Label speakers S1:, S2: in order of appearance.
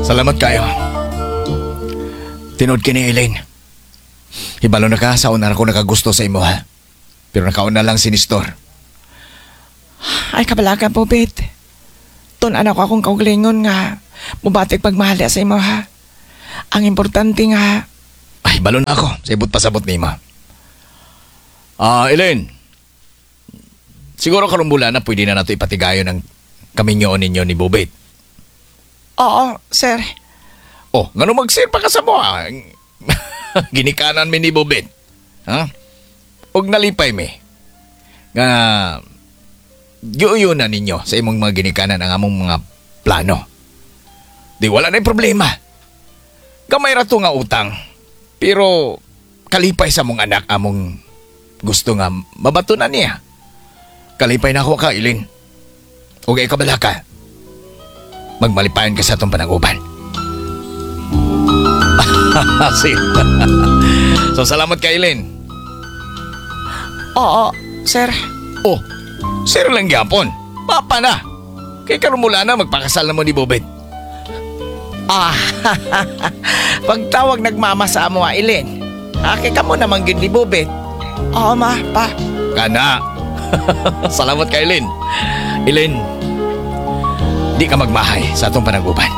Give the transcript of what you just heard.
S1: Salamat kayo. Tinuod kini, Elaine. Hibalo na ka, sa una ako nakagusto sa imo, ha. Pero nakauna lang si Nestor.
S2: Ay, kabalaka, Bobit. Tun-an ko akong kaugalingon nga mubatik pagmahal sa imo, ha. Ang importante nga
S1: Ay, balo na ako. Sa ibot pasabot ni ima. Ah, Elaine. Siguro karong bulan na pwede na nato ipatigayon ang kaminyoon ninyo ni Bobit.
S2: Oo, sir.
S1: Oh, ngano mag-sir pa ka sa mo, ah? Ginikanan mi ni Bobit. Ha? Og nalipay mi nga giuyo na ninyo sa imong mga ginikanan ang among mga plano. Di wala na problema. Gamay ra to nga utang. Pero kalipay sa mong anak among gusto nga mabato na niya. Kalipay na ako ka, Ilin. Ug ay kabalaka. Magmalipayon ka sa atong panag-uban. Sige. So salamat kay Ilin.
S2: Oo, sir.
S1: Oh, sir lang gyapon. Papa na. Kay karon mula na magpakasal na mo ni Bobet.
S2: Ah, pagtawag nagmama sa amo, ah, Ilin. Ah, kay kamo naman gyud ni Bobet. Oo, ma, pa.
S1: Kana. Salamat kay Ilin. Ilin, di ka magmahay sa atong panag-uban.